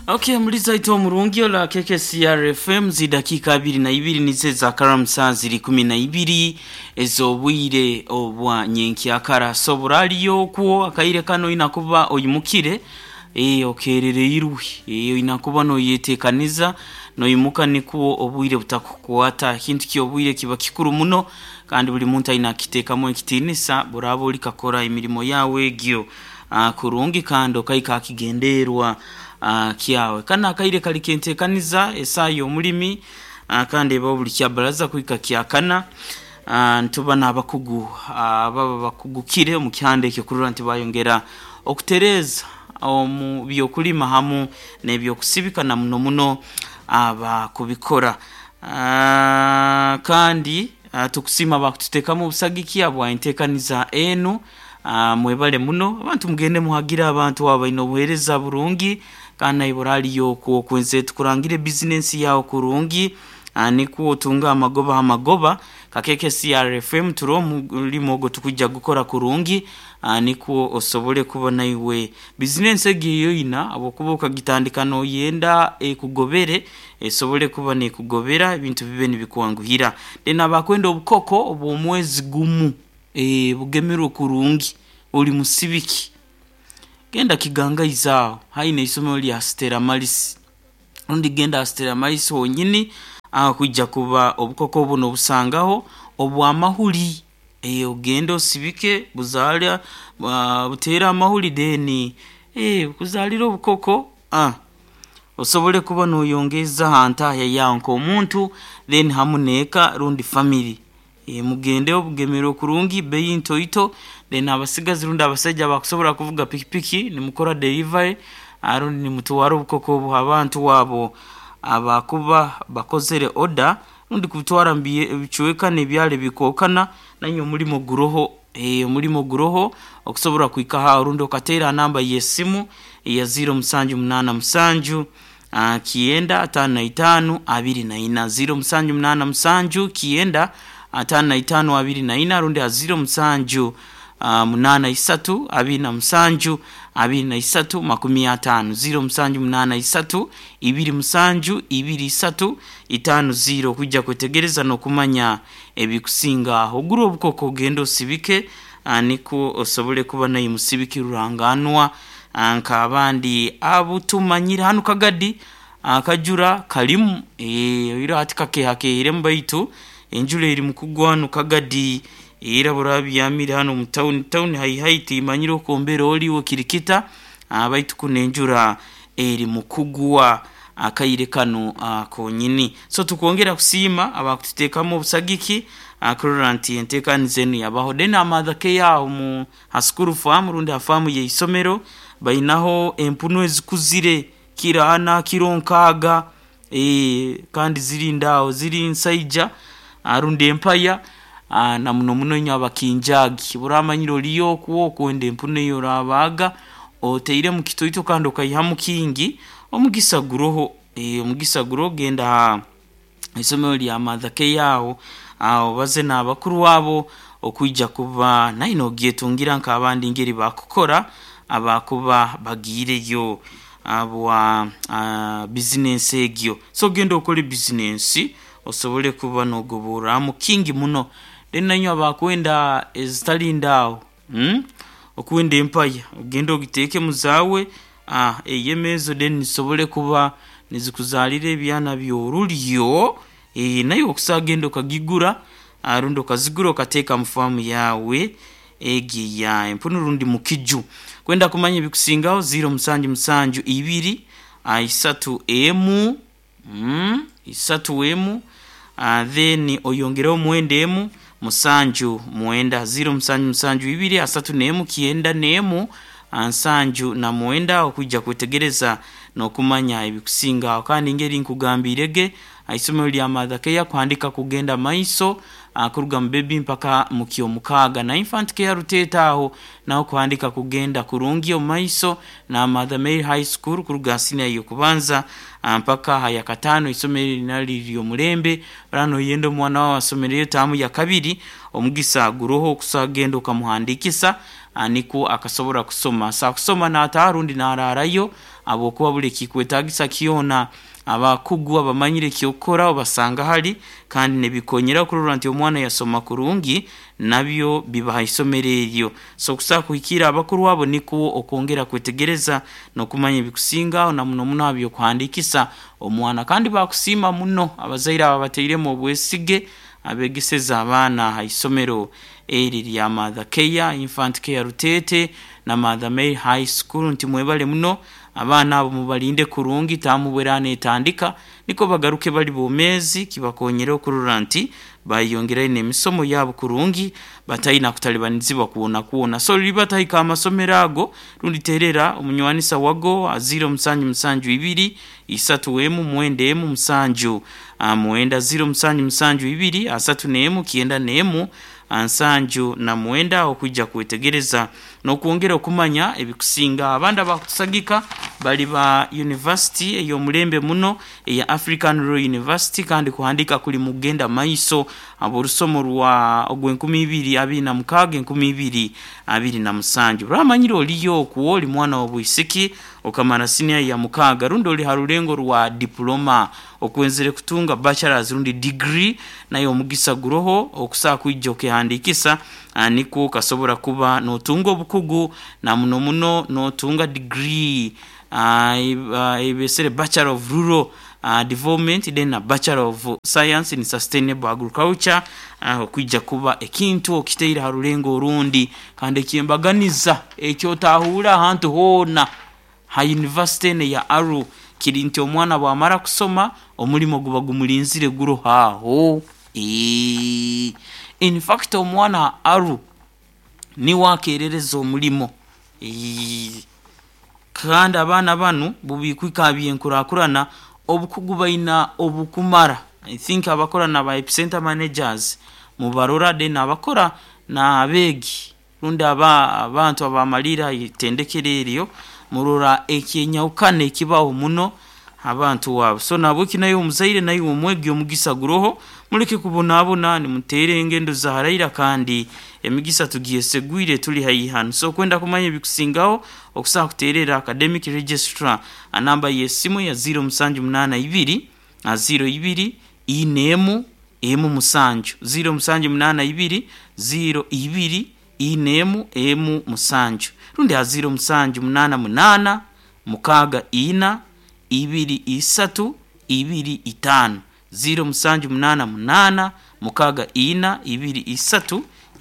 Okay, muliza ito omurungi ola KKCR FM zidakika 22 nize za karamu saa ziri 12 ez'obwire obwa nyenkyakara. So buraliyo okwo akaire kano inakuba oyimukire, okerereirwe, inakuba noyetekaniza noyimuka nikwo obwire butakukwata. Ekintu ky'obwire kiba kikuru muno kandi buli muntu aine akiteekamu ekitiinisa buraba olikakora emirimo yawe egyo kurungi kandi okaika akigenderwa kyawe. Kano akaire kali kentekaniza esaa y'omulimi, kandi eba buli kyabaraza kuhika kyakana. Nituba n'abakugu ababa bakugukire omu kihanda ekyo kurora nti bayongera okutereeza omu by'okulima hamu n'ebyokusibika na muno muno abakubikora. Kandi tukusiima abakututeekamu obusagiki habwa enteekaniza enu. Mwebale muno abantu, mugende muhagire abantu abo baine obuheereza burungi kandi naiwe oraliyo okwo okwenze tukurangire bizinensi yawe kurungi, nikwo otunge amagoba ha magoba. Kakeke CRFM turi omulimo ogwo tukujja gukora kurungi, nikwo osobole kuba naiwe bizinensi egyo eyoina habwokuba okagitandika noyenda ekugobere, esobole kuba nekugobera ebintu bibe nibikwanguhira. Then abakwenda obukoko obw'omwezi gumu, bugemerwe kurungi ori musibiki, genda Kigangaizi aho haine eisomero lya Stella Maris, rundi genda aha Stella Maris honyini aho kwija kuba obukoko buno obusangaho obw'amahuri. Ogende osibike buzaale, buteere amahuri then bukuzaalire obukoko, osobole kuba noyongeeza ha ntahya yawe nk'omuntu then hamu n'eka rundi family. Mugende obugemerwe kurungi bei ntoito, then abasigazi rundi abasaija abakusobora kuvuga pikipiki nimukora delivery, rundi nimutwara obukoko obu abantu abo abakuba bakozere order rundi kubutwara mu bicweka n'ebyaro ebikwokana. Nainywe omulimo guroho, omulimo guroho okusobora kuhikaho aho rundi okateera ha namba y'esimu eya 0787 955 24, 0787 955 24, rundi ha 07 83 27 23 50, 0783 27 23 50 okwijja kwetegereza n'okumanya ebikusinga aho. Ogure obukoko ogende osibike, nikwo osobole kuba naiwe musibiki ruranganwa nk'abandi abutumanyire. Hanu Kagadi akajura kalimu, oihireho hati kakehakeiremu baitu enjura eri mukugwa hanu Kagadi era buraba byamire hanu omu tawuni tawuni haihai timanyire oku embera ori iwe kirikita, baitu kunu enjura eri mukugwa akaire kanu konyini. So tukwongera kusiima abakututeekamu obusagiki kurora nti enteekaniza enu yabaho. Then aha Mother Care aho mu ha school farm rundi ha faamu y'eisomero bainaho empunu ezikuzire kiro ana, kiro nkaaga, kandi ziri aho ziri nsaija rundi empaya, na muno muno inywe abakinjaagi obu oramanyire oriyo okwo okwenda empunu ei orabaaga otairemu kitoito kandi okaihamu kingi, omugisa guroho, omugisa guroho. Genda aha isomero lya Mother Care aho obaze n'abakuru abo okwija kuba nawe nogyetungira nk'abandi engeri bakukora abakuba bagiireyo habwa bizinensi egyo. So genda okole bizinensi osobole kuba nogoborramu kingi muno. Then nainywe abakwenda ezitali ndaaho, okwenda empaya ogende ogiteekemu zaawe eyeme ezo then zisobole kuba nizikuzaalira ebyana by'orulyo, naiwe okusobola kugenda okagigura rundi okazigura okateeka mu faamu yawe egyo eya empunu rundi mukiju. Kwenda kumanya ebikusingaho 077 2 3 1, 3 1, then oyongereho mwenda emu musanju mwenda, 0772 31 91 79 okwija kwetegereza n'okumanya ebikusinga aho. Kandi engeri nkugambiire ge haisomero lya Mother Care kuhandika kugenda maiso, kuruga mu bebi mpaka mu kyomukaaga, na Infant Care Ruteeta aho naho kuhandika kugenda kurungi omu maiso, na Mother Mary High School kuruga ha siniya y'okubanza mpaka ha yakataano. Eisomero eri naryo riri omulembe oraba noyenda omwana waawe asomereyo taamu ya kabiri, omugisa guroho okusobola kugenda okamuhandikisa. Nikwo akasobora kusoma sa kusoma n'ataaha rundi n'araarayo, habwokuba buli ekikwetaagisa kyona abakugu abamanyire ekyokukora obasanga hali, kandi nibikonyera kurora nti omwana yasoma kurungi, nabyo biba ha isomero eryo. So okusobola kuhikiira abakuru abo nikwo okwongera kwetegereza n'okumanya ebikusingaho, na muno muno ha by'okuhandiikisa omwana. Kandi bakusiima muno abazaire abo abatairemu obwesige abeegeseze abaana ha isomero eri erya Mother Care, Infant Care Ruteete na Mother Mary High School nti mwebale muno, abaana abo mubalinde kurungi, taamu obu neetandika nikwo bagaruke bali boomeezi, kibakonyere okurora nti baayeyongerayo n'emisomo yabo kurungi bataina kutalibanizibwa kwona kwona. So ribata hika amasomero ago rundi terera omunywanisa wago 0772 31 97 9 0772 31 97 9 okwija kwetegereza n'okwongera okumanya ebikusinga. Abandi abakutusagika bali ba university ey'omulembe muno eya African Royal University, kandi kuhandiika kuli mukugenda maiso habw'orusomo rwa ogw'e 2026 2027. Oramanyire oliyo okwo oli mwana wa bwisiki okamara siniya ya mukaaga rundi oli ha rulengo rwa diploma okwenzere kutunga bachelors rundi degree, nayo omugisa guroho okusobola kwija okehandiikisa, nikwo okasobora kuba nootunga obukugu na muno muno nootunga degree eibesere Bachelor of Rural Development then na Bachelor of Science in Sustainable Agriculture, okwija kuba ekintu okitaire ha rulengo orundi kandi eky'embaganiza eki otahuura ahantu hoona ha yunivasite enu eya Aruu kiri nti omwana bwamara kusoma omulimo guba gumulinzire guroho aho. In fact omwana ha Aruu niwe akerereza omulimo kandi abaana banu bubikuhika ha by'enkurakurana obukugu baina obukumara. I think abakora na ba epicenter managers mubarora, then abakora n'abeegi rundi abantu abamaliire ha itendekero eryo murora ekyenyahukana ekibaho muno abantu abo. So nahabweki naiwe omuzaire naiwe omwegi omugisa guroho, muleke kubonabona nimuteera engendo za haraira kandi emigisa tugyesegwire tuli haihi hanu. So okwenda kumanya ebikusingaho okusobola kuteerera academic registrar ha namba y'esimu ya 0782 02 41 17 0782 02 41 17 rundi ha 0788 64 23 25 0788 64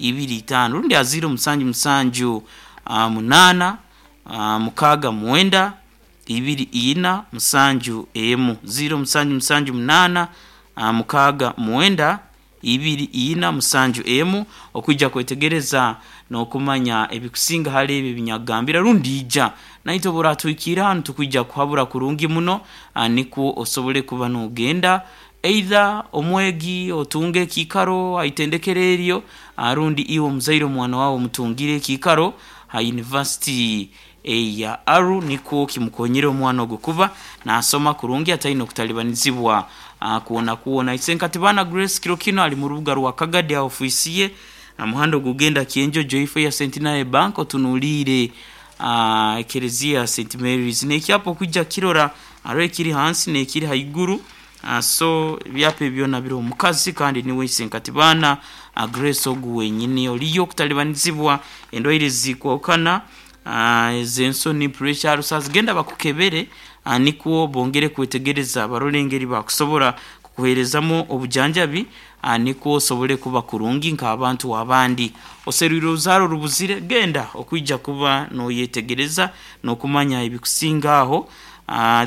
23 25 rundi ha 0778 69 24 71 0778 69 24 71 okwija kwetegereza n'okumanya ebikusinga hali ebi ebinyakugambira, rundi ija naitwe obu oratuhikiira hanu tukwija kuhabura kurungi muno, nikwo osobole kuba noogenda either omwegi otunge ekiikaro ha itendekero eryo, rundi iwe omuzaire omwana waawe omutungire ekiikaro ha yunivasite eya Aruu nikwo kimukonyere omwana ogu kuba naasoma kurungi ataine okutalibanizibwa kwona kwona. Isenkatibana Grace kiro kinu ali mu rubuga rwa Kagadi ha ofiisi ye ha muhanda ogugenda Kyenjojo ifo ya Centenary Bank otunuliire ekereziya ya St Mary's n'ekyapa okwija kukirora haroho ekiri hansi n'ekiri haiguru, so ebyapa ebi byona biroho omukazi kandi niwe Isenkatibana Grace ogu wenyini. Oliyo okutalibanizibwa endwaire ezikwahukana ez'ensoni, pressure, ulcers, genda bakukebere nikwo bongere kwetegereza barole engeri bakusobora kukuheerezamu obujanjabi, nikwo osobole kuba kurungi nk'abantu abandi. Oserwire oruzaaro orubuzire, genda okwija kuba noyetegereza n'okumanya ebikusinga aho.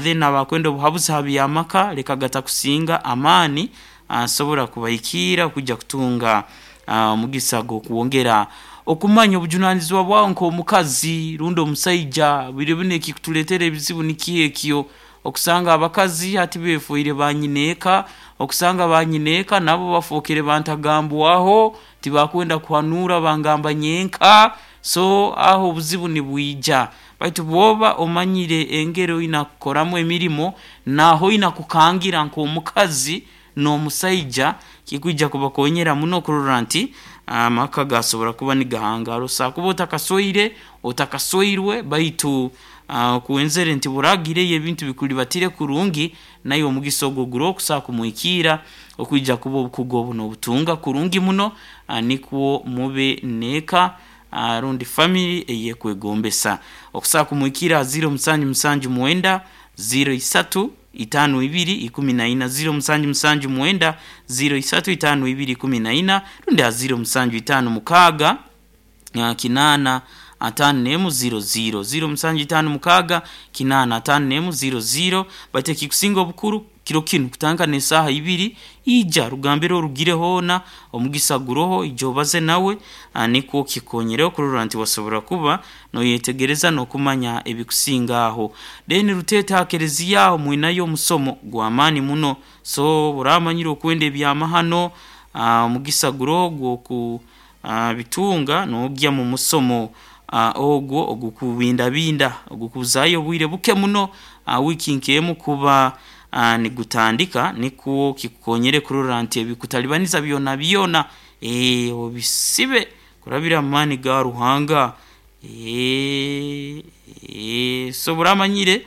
Then abakwenda obuhabuzi ha by'amaka leka gatakusinga amaani, asobora kubahikiira kwija kutunga omugisa gw'okwongera okumanya obujunanizibwa bwawe nk'omukazi rundi omusaija. Biro binu ekikutuleetera ebizibu nikyo ekyo, okusanga abakazi hati befoire ba nyineeka, okusanga ba nyineeka nabo bafookere bantagambwaho, tibakwenda kuhanuura bangamba nyenka, so aho obuzibu nibwija. Baitu bwoba omanyire engeri oina kukoramu emirimo, naaho oina kukangira nk'omukazi. N'omusaija kikwija kubakonyera muno kurora nti amaka gasobora kuba nigahangara. Osobola kuba otakasweire, otakasweirwe, baitu okwenzere nti buragireyo ebintu bikulibatire kurungi, naiwe omugisa ogwo guroho kusobola kumwikiira okwija kuba obukugu obu nobutunga kurungi muno, nikwo mube n'eka rundi family eyekwegombesa. Okusobola kumwikiira ha ziro musanju musanju mwenda, ziro isatu, itaano ibiri ikumi na ina, ziro musanju musanju mwenda, ziro isatu itaano ibiri ikumi na ina, rundi ha ziro musanju itaano mukaaga, kinaana ataano n'emu ziro ziro, ziro musanju itaano mukaaga, kinaana ataano n'emu ziro ziro. Baitu ekikusinga obukuru kiro kinu kutandika n'esaaha ibiri, ija rugambire orugire hoona, omugisa guroho, ija obaze nawe nikwo kikukonyereho kurora nti wasobora kuba noyetegereza n'okumanya ebikusinga aho. Then Ruteete ha kereziya aho mwinayo omusomo gw'amaani muno, so obu oraba omanyire okwenda ebyamahano, omugisa guroho gw'oku bitunga nogya mu musomo ogwo ogukubindabinda, ogukuzaayo obwire buke muno, wiiki nk'emu kuba nigutandika nikwo kikukonyere kurora nti ebikutalibaniza byonabyona obisibe kurabira mu maani ga Ruhanga. So obu oraba omanyire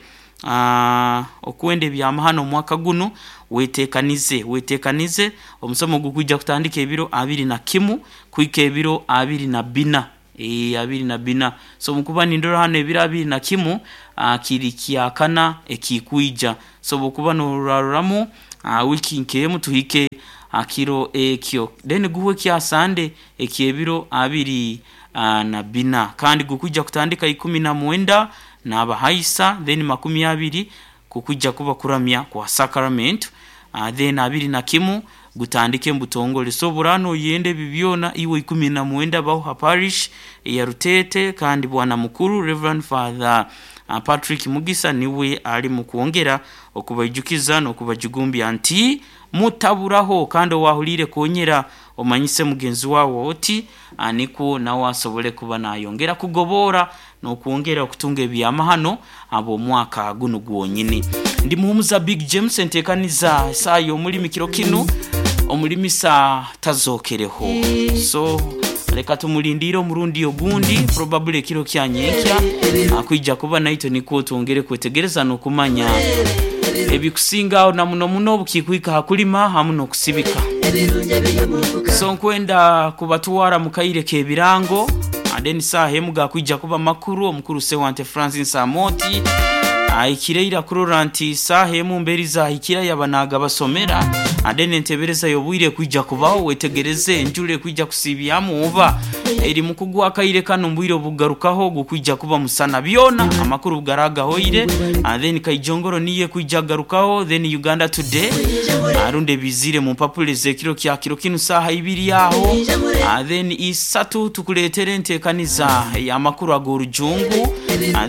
okwenda ebyamahano omwaka gunu, weteekanize, weteekanize omusomo gukwija kutandika ebiro abiri na kimu kuhika ebiro abiri na bbina, abiri na bbina. So obu nkuba nindora hanu ebiro abiri na kimu kiri kyakana ekikwija, so obu okuba nororramu wiiki nk'emu tuhike ha kiro ekyo. Then guhwe ekya Sande eky'ebiro abiri na bbina kandi gukwija kutandika ikumi na mwenda n'abahaisa, then makumi abiri kukwija kuba kuramya kwa sacramento, then abiri na kimu gutandike mubutongole. So obu oraba noyenda ebi byona, iwe ikumi na mwenda baho ha parish eya Ruteete kandi bwana mukuru Rev. Father Patrick Mugisa niwe ali mukwongera okubaijukiza n'okubajugumbya nti mutaburaho kandi owahuliire konyera omanyise mugenzi waawe oti nikwo nawe asobole kuba nayongera kugoboora n'okwongera okutunga ebyamahano habw'omwaka gunu gwonyini. Ndi Muhumuza Big James enteekaniza esaaha y'omulimi kiro kinu omulimisa tazookereho so leka tumulindiire omurundi ogundi probably ekiro kya nyenkya akwija kuba naitwe nikwo twongere kwetegereza n'okumanya ebikusinga aho na muno muno obukikwika ha kulima hamu n'okusibika. So nkwenda kubatwara mu kaire k'ebirango then saaha emu gakwija kuba makuru omukuru Sewante Francis Amooti ahikire ira kurora nti saaha emu mberi zahikira yaba nagabasomera then entebereza y'obwire ekwija kubaho wetegereze enjura ekwija kusiibyamu oba eri mukugwa akaire kanu mubwire obukugarukaho gukwija kuba musana byona amakuru bugaragahoire then Kaijongoro niyo ekwija kugarukaho then Uganda Today rundi ebiizire mu mpapura ez'ekiro kya kiro kinu saaha ibiri aho then isatu tukuleetere enteekaniza ey'amakuru ag'orujungu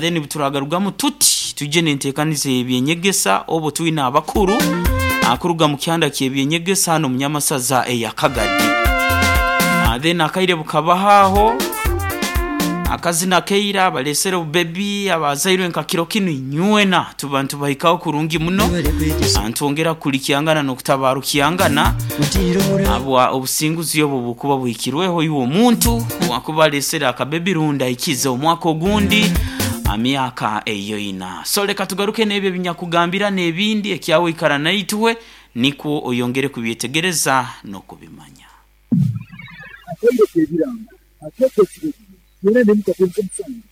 then buturagarugamu tuti twije n'enteekaniza ey'ebyenyegesa obwo twine abakuru kuruga mu kyanda ky'ebyenyegesa hanu omu Nyamasaza eya Kagadi. Then akaire bukabaho aho akazina keira abalesere obubebi abazairwe nka kiro kinu inywena tuba nitubahikaho kurungi muno nitwongera kukulikyangana n'okutabarukyangana habwa obusinguzi obwo bukuba buhikirweho iwe omuntu owakuba alesere akabebi rundi ahikize omwaka ogundi myaka eyoina. So leka tugaruke n'ebyo ebinyakugambira n'ebindi ekyawe ikara naitwe nikwo oyongere kubyetegereza n'okubimanya. Akaire k'ebirango akeeta ekiro kino, twena n'emika twenk'omusango.